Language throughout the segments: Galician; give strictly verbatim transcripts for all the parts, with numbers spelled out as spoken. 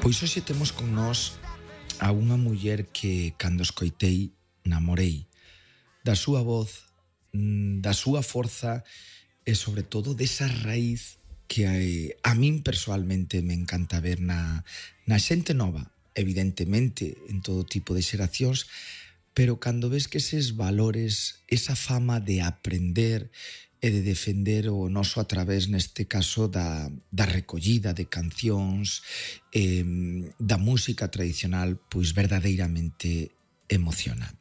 Pois hoxe temos con nós a unha muller que, cando escoitei, namorei da súa voz, da súa forza e, sobre todo, desa raíz que a, a min persoalmente me encanta ver na, na xente nova, evidentemente en todo tipo de xeracións, pero cando ves que eses valores, esa fama de aprender e de defender o noso a través, neste caso, da, da recollida de cancións, eh, da música tradicional, pois verdadeiramente emociona.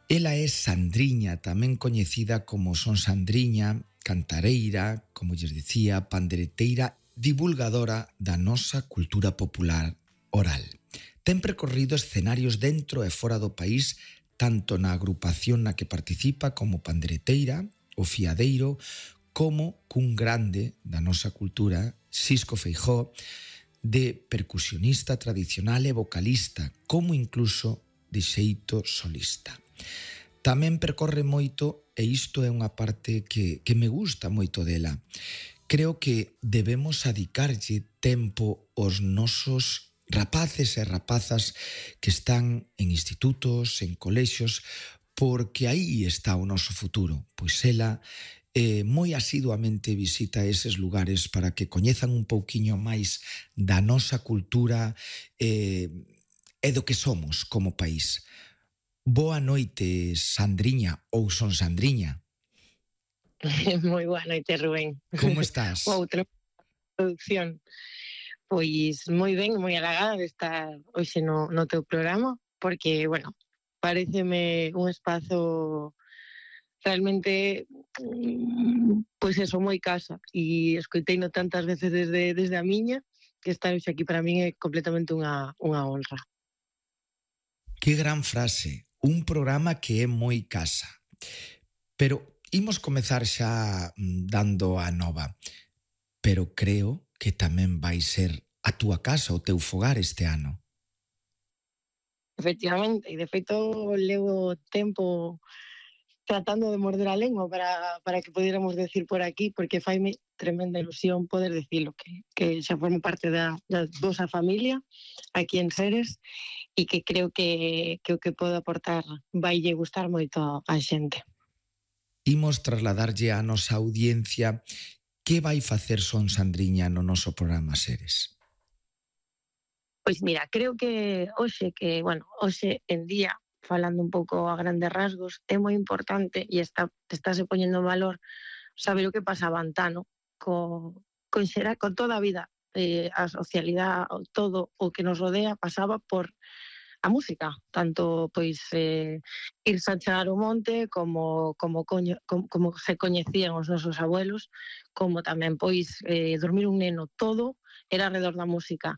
Ela é Sandriña, tamén coñecida como Son Sandriña, cantareira, como lles dicía, pandereteira, divulgadora da nosa cultura popular oral. Ten percorrido escenarios dentro e fora do país, tanto na agrupación na que participa como pandereteira, o Fiadeiro, como cun grande da nosa cultura, Xisco Feijóo, de percusionista tradicional e vocalista, como incluso de xeito solista. Tamén percorre moito, e isto é unha parte que, que me gusta moito dela. Creo que debemos adicarlle tempo aos nosos rapaces e rapazas que están en institutos, en colexios, porque aí está o noso futuro. Pois ela eh, moi asiduamente visita eses lugares para que coñezan un pouquiño máis da nosa cultura eh, e do que somos como país. Boa noite, Sandriña, ou Son Sandriña. Moi boa noite, Rubén. Como estás? Outra producción. Pois moi ben, moi halagada de estar hoxe no, no teu programa, porque, bueno, pareceme un espazo realmente, pois eso, moi casa, e escoiteino tantas veces desde, desde a miña, que estar hoxe aquí para min é completamente unha, unha honra. Que gran frase, un programa que é moi casa. Pero imos comezar xa dando a nova, pero creo que tamén vai ser a túa casa, o teu fogar este ano. Efectivamente, e de feito levo tempo tratando de morder a lengua para, para que pudiéramos decir por aquí, porque faime tremenda ilusión poder decirlo, que, que xa formo parte da, da vosa familia aquí en Seres, e que creo que, que o que podo aportar vai lle gustar moito a xente. Imos trasladarlle á nosa audiencia que vai facer Son Sandriña no noso programa Seres. Pois mira, creo que hoxe, que, bueno, hoxe en día, falando un pouco a grandes rasgos, é moi importante e está, estáse poñendo en valor saber o que pasaba antano co, con, xera, con toda a vida, eh, a socialidade, todo o que nos rodea pasaba por a música, tanto pois eh, irse a chegar o monte como, como, coño, como, como se coñecían os nosos abuelos, como tamén pois eh, dormir un neno, todo era alrededor da música.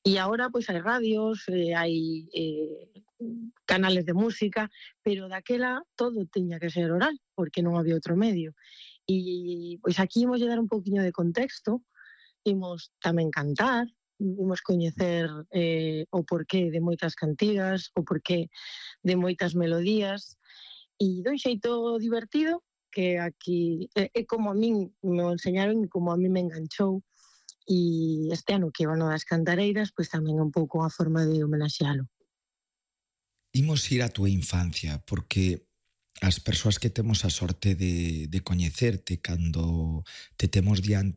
E agora pois hai radios, eh, hai eh, canales de música, pero daquela todo tiña que ser oral, porque non había outro medio. E pois aquí imos dar un pouquiño de contexto, imos tamén cantar, imos coñecer eh, o porqué de moitas cantigas, o porqué de moitas melodías, e dun xeito divertido, que aquí é, é como a min me enseñaron e como a min me enganchou, e este ano que é o ano das cantareiras, pois tamén é un pouco a forma de homenaxealo. Imos ir á túa infancia, porque as persoas que temos a sorte de, de coñecerte cando te temos diante